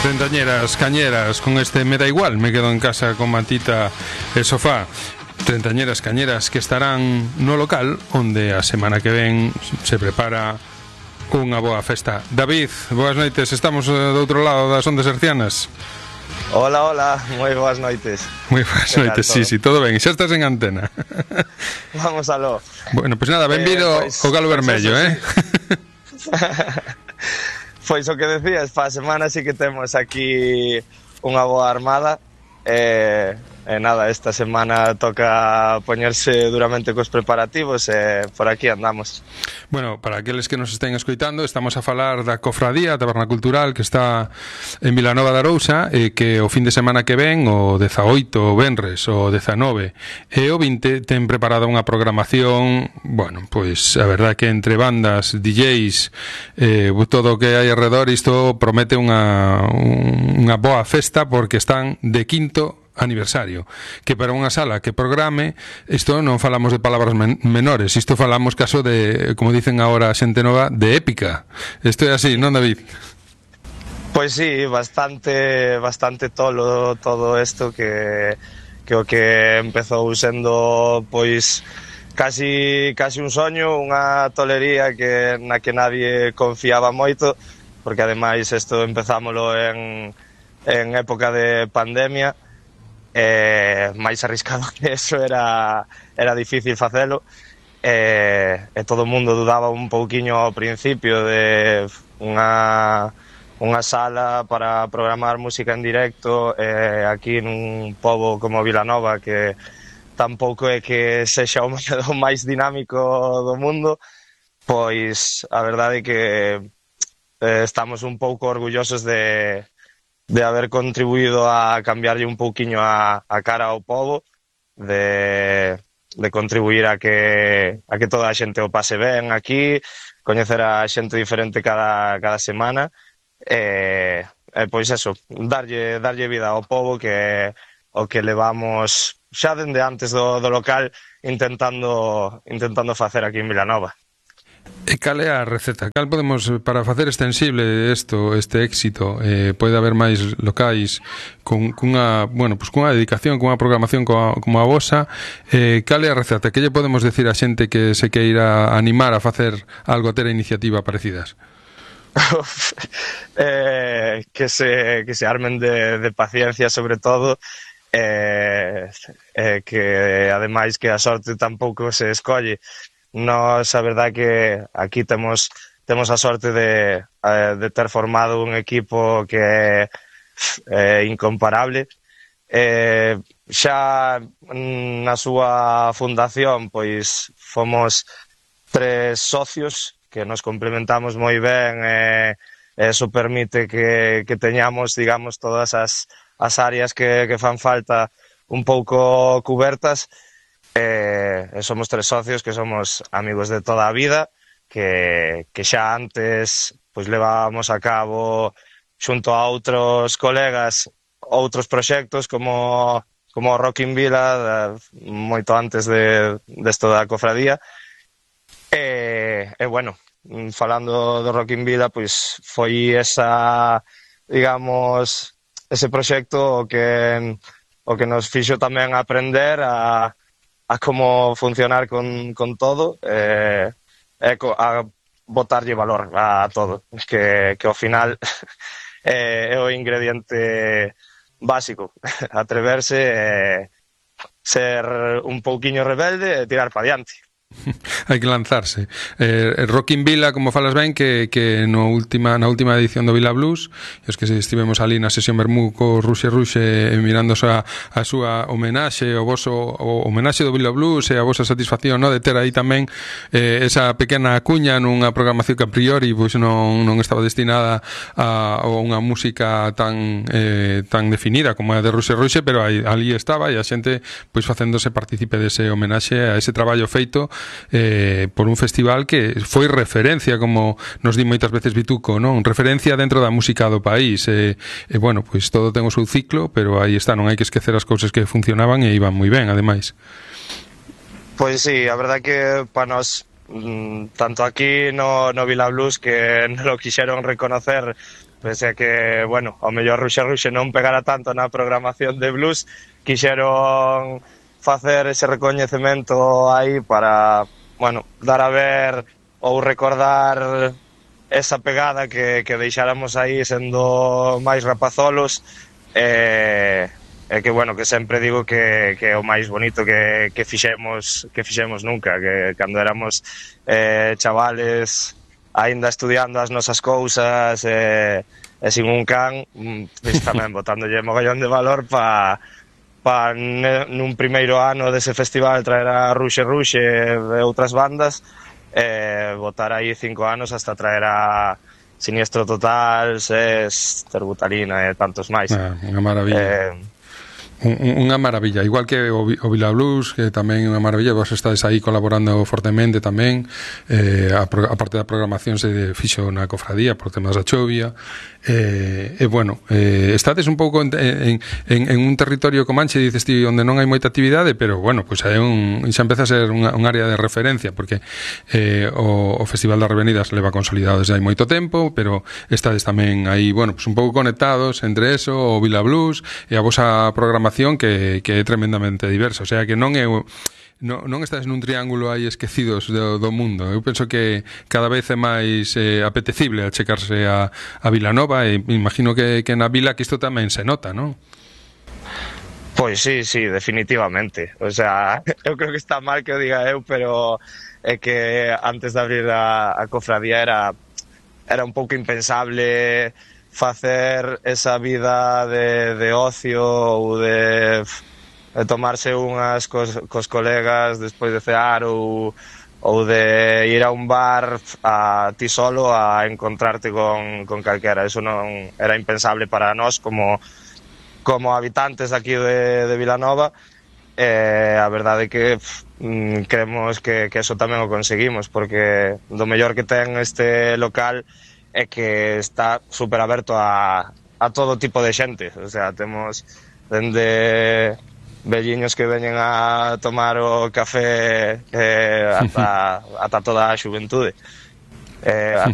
Treintañeras, cañeras, con este me da igual, me quedo en casa con mantita e sofá. Treintañeras, cañeras que estarán no local onde a semana que ven se prepara unha boa festa. David, boas noites, estamos do outro lado das ondas hercianas. Hola, hola, moi boas noites. Moi boas noites, sí, todo ben, xa estás en antena. Vamos aló. Bueno, pois nada, benvido ao Galo Vermello, sí. Pois o que decías, pa semana sí que temos aquí unha boa armada. Nada, esta semana toca poñerse duramente cos preparativos e por aquí andamos. Bueno, para aqueles que nos estén escoitando, estamos a falar da Cofradía, a Taberna Cultural, que está en Vilanova de Arousa, e que o fin de semana que ven, o 18, o venres, o 19 e o 20, ten preparada unha programación, bueno, pois a verdad que entre bandas, DJs, todo o que hai alrededor, isto promete unha boa festa, porque están de quinto aniversario, que para unha sala que programe, isto non falamos de palabras menores, isto falamos caso de, como dicen agora a xente nova, de épica. Isto é así, non, David? Pois sí, bastante tolo todo isto que o que empezou sendo pois casi un soño, unha tolería na que nadie confiaba moito, porque ademais isto empezámolo en época de pandemia. Máis arriscado que eso era difícil facelo, e todo o mundo dudaba un pouquiño ao principio de unha sala para programar música en directo aquí nun pobo como Vilanova, que tampouco é que sexa o máis dinámico do mundo. Pois a verdade é que estamos un pouco orgullosos de haber contribuído a cambiarlle un pouquiño a cara ao pobo, de contribuir a que toda a xente o pase ben aquí, coñecer a xente diferente cada semana, pois eso, darlle vida ao pobo, que o que levamos xa dende antes do local intentando facer aquí en Vilanova. E cal é a receta? Cal podemos, para facer extensible este éxito, pode haber máis locais cunha dedicación, cunha programación como a vosa, cal é a receta? Que lle podemos decir a xente que se queira animar a facer algo, a ter a iniciativa parecidas? Que se armen de paciencia, sobre todo, que ademais que a sorte tampouco se escolle. Nos, a verdad que aquí temos a sorte de ter formado un equipo que é incomparable. Xa na súa fundación pois fomos 3 socios que nos complementamos moi ben, e eso permite que teñamos, digamos, todas as áreas que fan falta un pouco cubertas. Somos 3 socios que somos amigos de toda a vida, que xa antes pois levábamos a cabo xunto a outros colegas outros proxectos como o Rock in Vila, moito antes desto da cofradía. Bueno, falando do Rock in Vila, pois foi ese proxecto o que nos fixo tamén aprender a como funcionar con todo, a botarlle valor a todo, que ao final é o ingrediente básico, atreverse, ser un pouquiño rebelde e tirar pa diante. Hai que lanzarse. Rock in Vila, como falas ben, que na última edición do Vila Blues, os que estivemos ali na sesión Bermú co Ruxe mirando a súa homenaxe, o homenaxe do Vila Blues, e a vosa satisfacción, no, de ter aí tamén esa pequena cuña nunha programación que a priori pois non estaba destinada a unha música tan definida como a de Ruxe, pero ali estaba, e a xente pois facéndose partícipe dese homenaxe a ese traballo feito por un festival que foi referencia, como nos di moitas veces Vituco, non? Referencia dentro da música do país, bueno, pois todo ten o seu ciclo, pero aí está, non hai que esquecer as cousas que funcionaban e iban moi ben, ademais. Pois sí, a verdad que para nós, tanto aquí no Vila Blues, que non lo quixeron reconocer pese a que, bueno, ao mellor Ruxe non pegara tanto na programación de blues, quixeron facer ese recoñecemento aí para, bueno, dar a ver ou recordar esa pegada que deixáramos aí sendo máis rapazolos, e que, bueno, que sempre digo que é o máis bonito que fixemos nunca, que cando éramos chavales aínda estudiando as nosas cousas e sin un can, pois tamén botándolle mogollón de valor para nun primeiro ano dese festival traer a Ruxe e outras bandas, botar aí 5 anos hasta traer a Siniestro Total, SES, Terbutalina e tantos máis. Unha maravilla. Unha maravilla, igual que o Vila Blues, que tamén é unha maravilla. Vos estades aí colaborando fortemente tamén, a parte da programación se fixo na cofradía por temas da chovia, bueno, estades un pouco en un territorio comanche, dices ti, onde non hai moita actividade, pero bueno, pues xa empeza a ser un área de referencia, porque o Festival das Revenidas leva consolidado desde hai moito tempo, pero estades tamén aí, bueno, pues un pouco conectados entre eso, o Vila Blues e a vosa programación que é tremendamente diversa, o sea que non estás nun triángulo aí esquecidos do mundo. Eu penso que cada vez é máis apetecible achecarse a Vilanova, e imagino que na vila que isto tamén se nota, non? Pois sí, definitivamente. O sea, eu creo que está mal que o diga eu, pero é que antes de abrir a cofradía era un pouco impensable facer esa vida de ocio ou de tomarse unhas cos colegas despois de cear ou de ir a un bar a ti solo a encontrarte con calquera. Eso non era impensable para nós como habitantes aquí de Vilanova. A verdade é que creemos que eso tamén o conseguimos, porque do mellor que ten este local é que está super aberto a todo tipo de xente. O sea, temos dende velliños que veñen a tomar o café ata toda a xuventude, ata